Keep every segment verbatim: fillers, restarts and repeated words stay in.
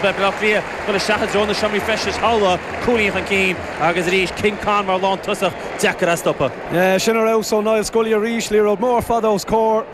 beidh Bleá Cliath dul isteach i dtreo na seomraí feistis thall cúilín chun cinn agus arís King Con mar lántosach deacair a stopadh. Sin ar fheabhas ó Niall Scully arís, liathróid mór fada os comhair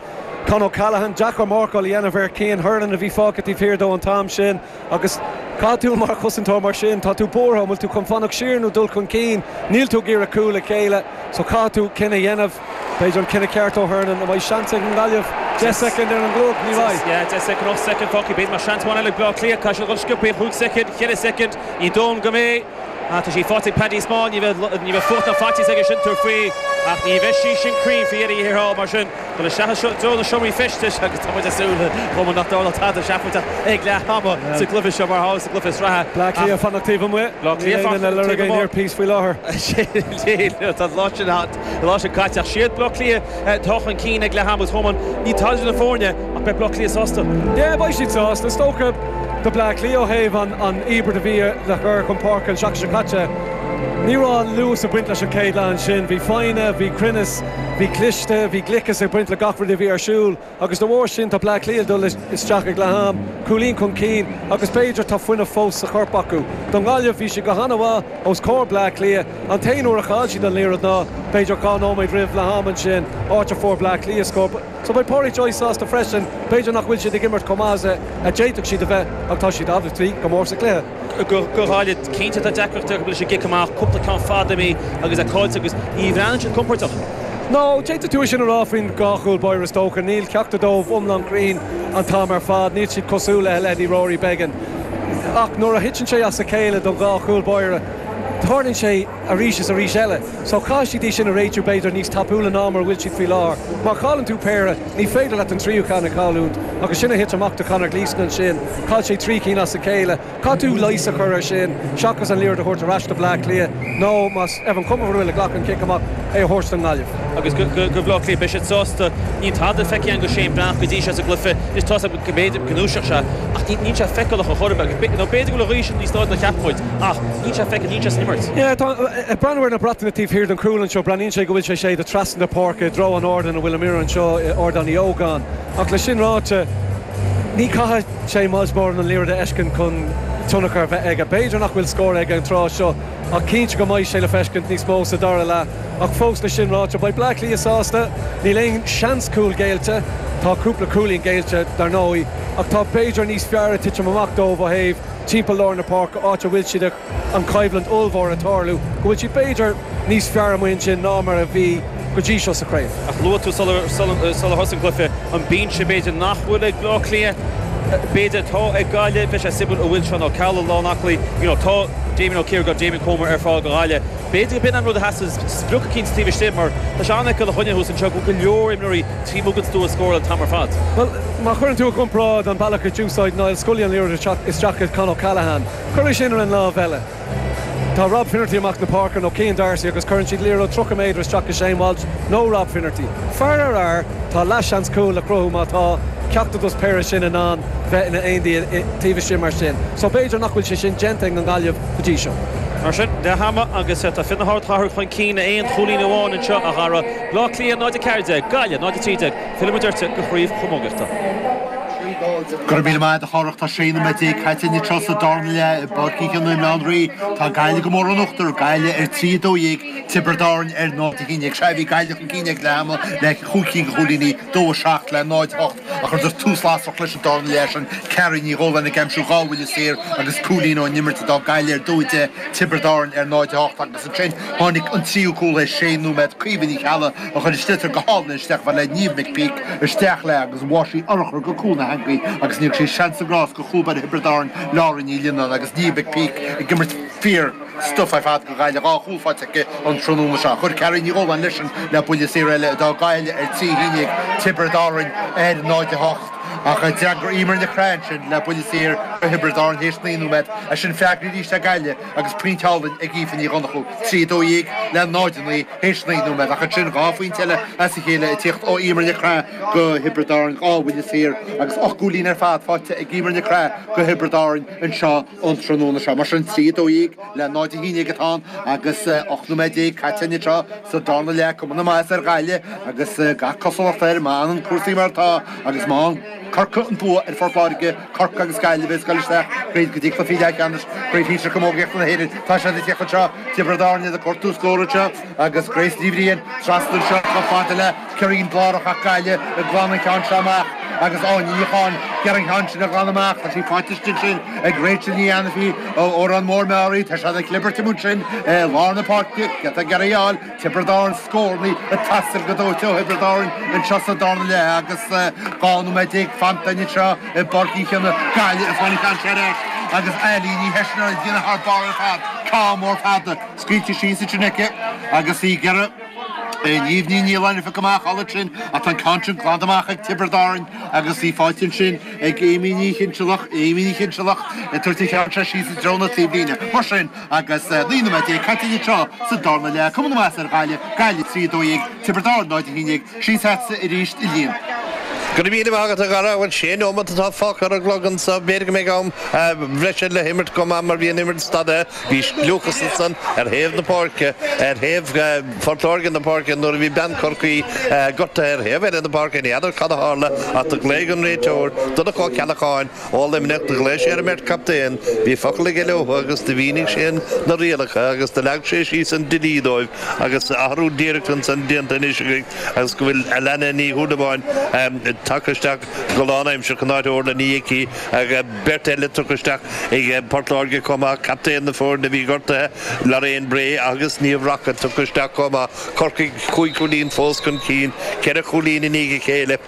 Con O'Callaghan, deacair marcáil a dhéanamh ar Cian Hernon a bhí fágtha taobh thiar dó an t-am sin agus caithfidh tú mar chosantóir mar sin, tá tú buartha, an bhfuil tú chun fanacht siar nó dul chun cinn, níl tú ag iarraidh cúl a ghéilleadh, so caithfidh tú cinneadh a dhéanamh. B'fhéidir an cinneadh ceart ó Hernon, an mbeidh seans ag an Ghaillimh deich soicind ar an gclog, ní bheidh. Yeah, deich soicind, ocht soicind fágtha, b'fhéidir mar seans amháin eile ag Bleá Cliath, caithfidh siad dul sciobtha, chúig soicind, ceithre soicind, ní dóigh go mbeidh. Tá sí faighte ag Paddy Small, ní bheidh ní bheidh fuacht ná faitíos aige sin tabhairt faoi ach ní bheidh sí sin cruinn faoi dheireadh thiar thall mar sin dul isteach i dtreo na seomraí feistis agus tá muid ag súil chomh nach dtarlódh tada seafóideach ag leath ama sa gcluiche seo mar atá sa gcluiche sraithe. Bleá Cliath fanacht taobh amuigh. Bleá Cliath Níl aon lorg aon earpiece faoi láthair. Tá lá sin lá sin caite ach siad Bleá Cliath atá chun cinn ag leath ama agus Choman ní tada na foirne ach beidh Bleá Cliath sásta. Yeah, beidh siad sásta. Is dócha do Bleá Cliath ó thaobh an an íobairt a bhí le cur chun páirce an seachtain seo caite. Ní raibh an luas ag baint leis an chéad leath ansin. Bhí foighne, bhí cruinneas, bhí cliste, bhí gliceas ag baint le gach rud a bhí ar siúl agus de bharr sin tá Bleá Cliath dul isteach ag leath am, cúilín chun cinn agus b'fhéidir tá fuinneamh fós sa chorp acu. Don Ghaillimh bhí siad go han-mhaith os comhair Bleá Cliath. An t-aon uair a chaill siad an liathróid ná b'fhéidir dhá nóiméad roimh leath am ansin, áit a fuair Bleá Cliath scór. So beidh Pádraic Joyce sásta freisin, b'fhéidir nach bhfuil siad ag imirt chomh maith a d'fhéadfadh siad a bheith ach tá siad obviously go mór sa chluiche. Go Gaillimh cinnte tá deacracht go bhfuil sé gic amach cúpla ceann fada imithe agus é caillte agus ní bhreathnaíonn siad compordach. No, d'fhéadfadh tú sin a rá faoin dhá chúl báire is dócha, níl ceachtar dóibh iomlán cruinn an t-am ar fad, níl siad cosúil le leithéidí Rory Beggan. Ach nuair a thiteann sé as a chéile don dhá chúl báire, tarlaíonn sé arís is arís eile. So caithfidh siad í sin a réitiú b'fhéidir níos tapúla ná mar bhfuil siad faoi láthair. Má chailleann tú péire, ní féidir leat an tríú ceann a chailliúint agus sin a thit amach do Conor Gleeson ansin, chaill sé trí cinn as a chéile. Caithfidh tú leigheas a chur ar sin, seachas an liathróid a thabhairt ar ais do Bleá Cliath nó más Evan Comerford a ghlac an cic amach é a thabhairt don Ghaillimh. Agus go go Bleá Cliath beidh siad sásta níl tada feicthe go Shane Breathnach go dtí seo sa gcluiche is tá go b'fhéidir go ndúiseoidh sé ach níl sé feiceálach a chor agus nó b'fhéidir go bhfuil a ghaois níos láidre ná cheap muid ach níl sé feicthe níl sé san imirt. Yeah, tá ag breathnú ar na bratacha taobh thiar den chúl anseo, breathnaíonn sé go bhfuil sé sé de trasna na páirce i dtreo an ardáin a bhfuil an imreoir anseo Ardán Uí Ógáin. Ach le sin ráite, ní caithfidh sé Miles Moran an liathróid a fheiscint chun tionchar a bheith aige. B'fhéidir nach bhfuil scór aige an tráth seo ach cinnte go mbeidh sé le feiscint níos mó sa dara leath. Ach fós le sin ráite, beidh Bleá Cliath sásta, níl aon seans cúl géillte, tá cúpla cúilín géillte dar ndóigh, ach tá b'fhéidir níos fearr ag titim amach dóibh ó thaobh timpeall lár na páirce áit a bhfuil siad an choimhlint ollmhór ag tarlú, go bhfuil siad b'fhéidir níos fearr amuigh ansin ná mar a bhí go dtí seo sa chraobh. Ach luaigh tú sular sular thosaigh an cluiche an binse b'fhéidir nach bhfuil ag Bleá Cliath b'fhéidir atá ag Gaillimh bheidh sé suimiúil a bhfuil Seán Ó Ceallaigh lán aclaí you know, tá Damien Ó Ciargán Damien Comer ar fáil go Gaillimh. B'fhéidir go b'in an rud a theastaigh sprioc eicínt taobh istigh mar tá sé an-fheiceálach a choinne thuas anseo go go leor imreoirí taobh amuigh den stua scóráil an t-am ar fad. Well, má chuireann tú i gcomparáid an bealach a d'úsáid Niall Scully an liathróid isteach ag Con O'Callaghan, cuir sin ar an lámh eile. Tá Rob Finnerty amach na páirce nó Cian Darcy agus cuireann siad liathróid tríocha méadar isteach go Shane Walsh nó Rob Finnerty. Fear ar fhear tá leathsheans cúl le cruthú má tá ceachtar dos péire sin in ann bheith ina éindí taobh istigh mar sin. So b'fhéidir nach bhfuil sé sin déanta ag an Ghaillimh go dtí seo. Mar sin leath ama agus tá fir na hardchathrach chun cinn aon chúilín amháin anseo a Dhara Bleá Cliath náid a ceathair déag, Gaillimh náid a trí déag, fillfimid ort go craobh chamógaíochta. Gur mí mai a chorachta sé na dé caite anseo sa darna leath i bPáirc Uí Chionnaith i mBaile Átha an Rí tá Gaillimh go mór in uachtar Gaillimh ar trí dó dhéag Tiobraid Árann ar náid a haon déag sé bhí Gaillimh chun cinn ag leath ama le cúig cinn de chúilíní dó a seacht le náid hocht a chuir tús lasrach leis an darna leath sin Ceara Ní Dhóláin ag aimsiú dhá bhuille saor agus cúilín ón imirt d'fhág Gaillimh ar dó deich Tiobraid Árann ar náid hocht agus ansin tháinig an tríú cúl é sé nóiméad Caoimhe Ní Cheallaigh a chuir an sliotar go hálainn isteach le Niamh McPeak isteach le agus bhain sí urchar go cúl na heangaí agus ní sé seans sa gcrás go chúl báire Thiobraid Árann Laura Ní Lionnáin agus Niamh McPeak ag imirt fíor stuif ar fad go Gaillimh dhá chúl faighte aici an tráthnóna seo. Chuir Ceara Ní Dhóláin leis sin le buille saor eile d'fhág Gaillimh ar trí haon déag Tiobraid Árann ar náid a hocht ach d'fhreagair Emer Nic Craith sin le buille saor go Thiobraid Árann théis naoi nóiméad a sin freagra arís ag Gaillimh agus pointe álainn ag Aoife Ní Dhonnchú trí dó dhéag le náid a naoi théis naoi nóiméad ach ansin dhá phointe eile as a chéile ag tíocht ó Emer Nic Craith go Thiobraid Árann dhá bhuille saor agus ocht gcúilín ar fad faighte ag Emer Nic Craith go Thiobraid Árann anseo an tráthnóna seo mar sin trí dó dhéag le náid a haon déag atá ann agus ocht nóiméad déag caite anseo sa darna leath cuma na maitheasa ar Ghaillimh agus gach cosúlacht air má fhanann cúrsaí mar atá agus má Corcaigh an bua ar Phort Láirge, Corcaigh agus Gaillimh ag dul isteach go dtí cluichí leathcheannais Craobh Shinsir Camógaíochta na hÉireann. Tá siad ag tíocht anseo, Tiobraid Árann iad ag cuartú scór anseo agus Grace Ní Bhriain trasna anseo chomh fada le Ciarán Blárach ach Gaillimh ag glanadh an ceann seo amach agus Áine Ní Cháin ag iarraidh an ceann sin a ghlanadh amach. Tá sí faighte istigh ansin ag Rachel Ní Ainifí ó Órán Mór Meáraí. Tá siad ag clibirt amuigh ansin i lár na páirce. Giota ag iarraidh a fháil. Tiobraid Árann scóranna ag teastáil go dóite ó Thiobraid Árann anseo sa darna leath agus dhá nóiméad déag fanta anseo i bPáirc Uí Chionnaith. Gaillimh ag fáil an ceann seo ar ais agus Eilín Ní Heiseanna ag déanamh thar barr ar fad. Ceann mór fada scaoilte síos ansin aici agus í ag iarraidh Niamh Ní Nialláin a phiocadh amach thall ansin ach tá an ceann sin glanta amach ag Tiobraid Árann agus í faighte ansin ag Amy Ní Chinsealach, Amy Ní Chinsealach ag tabhairt an cheann seo síos i dtreo na taobhlíne. Mar sin agus naoi nóiméad déag caite anseo sa darna leath, cuma na measa ar Ghaillimh, Gaillimh trí a dó dhéag, Tiobraid Árann náid a haon déag, síos agatsa arís a Liam. Go raibh míle maith agat a Dhara, bhuel sé nóiméad atá fágtha ar an gclog anseo, b'fhéidir go mbeidh am bhreise le himirt chomh maith mar bhí an imirt stadtha, bhí gliúchas ansan ar thaobh na páirce, ar thaobh Phort Láirge na páirce nuair a bhí bean Chorcaí gortaithe ar thaobh eile na páirce, ní fheadar cad a tharla ach do ghlaoigh an réiteoir, Donncha Ó Ceallacháin ó Luimneach, do ghlaoigh sé ar an mbeirt chaptaen, bhí focal aige leo agus do mhínigh sé na rialacha agus do leag sé síos an dlí dóibh agus athrú díreach ansan déanta anois agaibh agus go bhfuil Alana Ní Shúilleabháin tagtha isteach go lánaimseartha in áit Orla Ní Icí, beirt eile tugtha isteach ag Port Láirge chomh maith, captaen na foirne a bhí gortaithe, Lorraine Bray agus Niamh Rockett tugtha isteach chomh maith. Corcaigh cúig chúilín fós chun cinn, ceithre chúilín i ndiaidh a chéile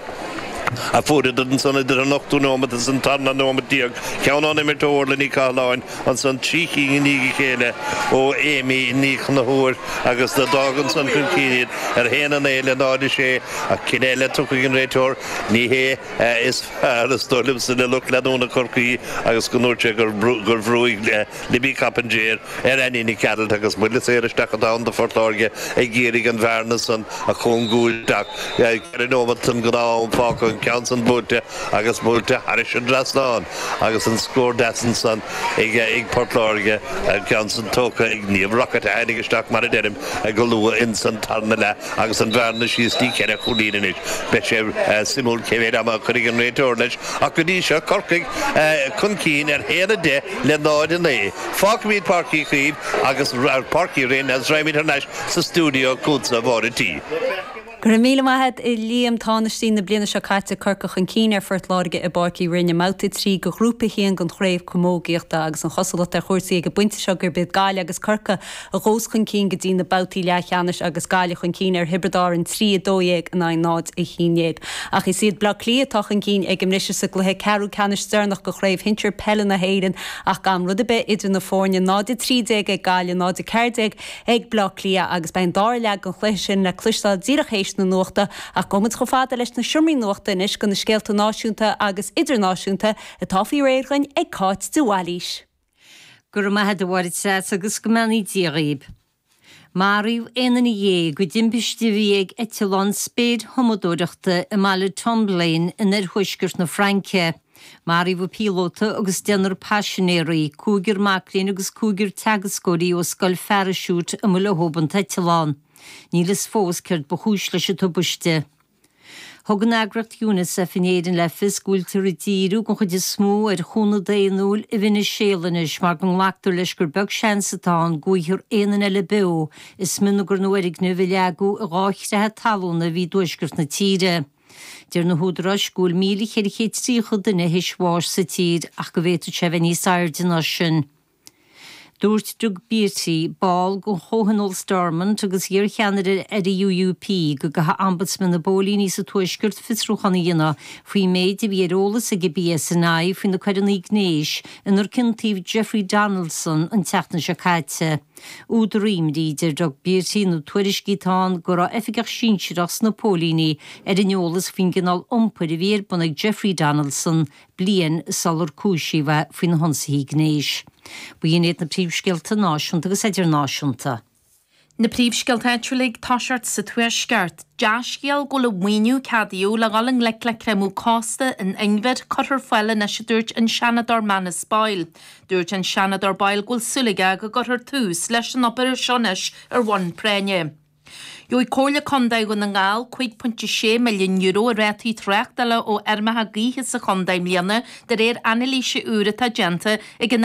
a fuaireadar ansan idir an ochtú nóiméad is an tarna nóiméad déag, ceann ón imirt ó Orla Ní Chathalláin, ansan trí cinn i ndiaidh a chéile ó Amy Ní Chonchúir agus d'fhág ansan chun cinn iad ar a haon a naoi le náid a sé ach cinneadh eile tugtha ag an réiteoir, ní hé is fearr is dóigh liomsa le lucht leanúna Chorcaí agus go ndúirt sé gur bhrúigh Libby Coppinger ar Annie Nic Gearailt agus buille saor isteach atá ann do Phort Láirge ag iarraidh an bhearna san a chúngú isteach. Ceithre nóiméad den ghnáth-am fágtha, an ceann san buailte agus buailte thairis an dtrasnán agus an scór deas ansan ag Port Láirge, an ceann san tógtha ag Niamh Rockett a tháinig isteach mar a deirim go luath ins an tarna leath agus an bhearna síos dtí ceithre chúilín anois. Beidh sé suimiúil cé mhéad ama a chuirfidh an réiteoir leis ach go dtí seo Corcaigh chun cinn ar haon a deich le náid a naoi. Fágfaimid Páirc Uí Chaoimh agus Páirc Uí Rinn agus raghaimid thar n-ais sa stiúideo chugatsa, a Mháire T. Go raibh míle maith agat, a Liam. Tánaistí na bliana seo caite Corcaigh chun cinn ar Phort Láirge i bPáirc Uí Rinn i mbabhta a trí de Ghrúpa a haon den Chraobh Camógaíochta agus an chosúlacht ar chúrsaí ag an bpointe seo gurb iad Gaillimh agus Corcaigh a ghabhfas chun cinn go dtí na babhtaí leathcheannais agus Gaillimh chun cinn ar Thiobraid Árann trí a dó dhéag in aghaidh náid a haon déag. Ach is iad Bleá Cliath atá chun cinn ag an mbriseadh sa gcluiche ceathrú ceannais deireanach de Chraobh Shinsir Peile na hÉireann ach gan rud ar bith idir na foirne, náid a trí déag ag Gaillimh, náid a ceathair déag ag Bleá Cliath agus beidh an dara leath den chluiche sin le cloisteáil díreach théis na nuachta ach gabhfaidh muid chomh fada leis na seomraí nuachta anois do na scéalta náisiúnta agus idirnáisiúnta atá faoi réir againn ag Cáit de Bhailís. Go raibh maith agat a Mháire Treasa agus go mbeannaí Dia dhaoib. Maraíodh aon duine dhéag i dtimpiste a bhí ag eitleán spéirthumadóireachta i mbaile Tomblaine in oirthuaisceart na Fraince. Maraíodh an píolóta agus deichniúr paisinéirí, cúigear mac léinn agus cúigear teagascóirí ó scoil pharaisiúit a mba leo an t-eitleán. Níl fhios fós céard ba chúis leis an tubaiste. Thug an eagraíocht Unicef in Éirinn le fios go bhfuiltear ag díriú den chuid is mó ar chúnamh daonnúil i Veiniséala anois mar go nglactar leis gur beag seans atá ann go bhfaighfear aon duine eile beo i smionagar na bhfoirgneamh a leagadh i dhá chreathadh talún a bhí i dtuaisceart na tíre. Deir na húdaráis go bhfuil míle cheithre chéad tríocha duine théis bháis sa tír ach go bhféadfadh sé a bheith níos airde ná sin. Dúirt Doug Beattie, ball den Chomhthionól Stormont agus iarcheannaire ar an UUP, go gcaithfidh Ombudsman na bPóilíní sa Tuaisceart fiosrúchán a dhéanamh faoin méid a bhí ar eolas ag an PSNI faoi na coireanna gnéis inar ciontaíodh Jeffrey Donaldson an tseachtain seo caite. Údar imní, a deir Doug Beattie, na tuairiscí atá ann go raibh oifigeach sinsearach sna póilíní ar an eolas faoin gcineál iompair a bhí ar bun ag Jeffrey Donaldson bliain sular cúisíodh é faoi na hionsaithe gnéis. B'in iad na príomhscéalta náisiúnta agus idirnáisiúnta. Na príomhscéalta áitiúla ag toiseacht sa Tuaisceart. Dea-scéal go bhfuil an maoiniú ceadaíodh le dhul i ngleic le creimeadh cósta an inbhir curtha ar fáil anois a dúirt an Seanadóir Manus Boyle. Dúirt an Seanadóir Boyle go bhfuil súil aige go gcuirfear tús leis an obair seo anois ar bhonn práinne. Gheobhaidh Comhairle Contae Dhún na nGall cúig pointe sé milliún euro i rátaí tráchtála ó fheirmeacha gaoithe sa chontae i mbliana de réir anailíse úr atá déanta ag an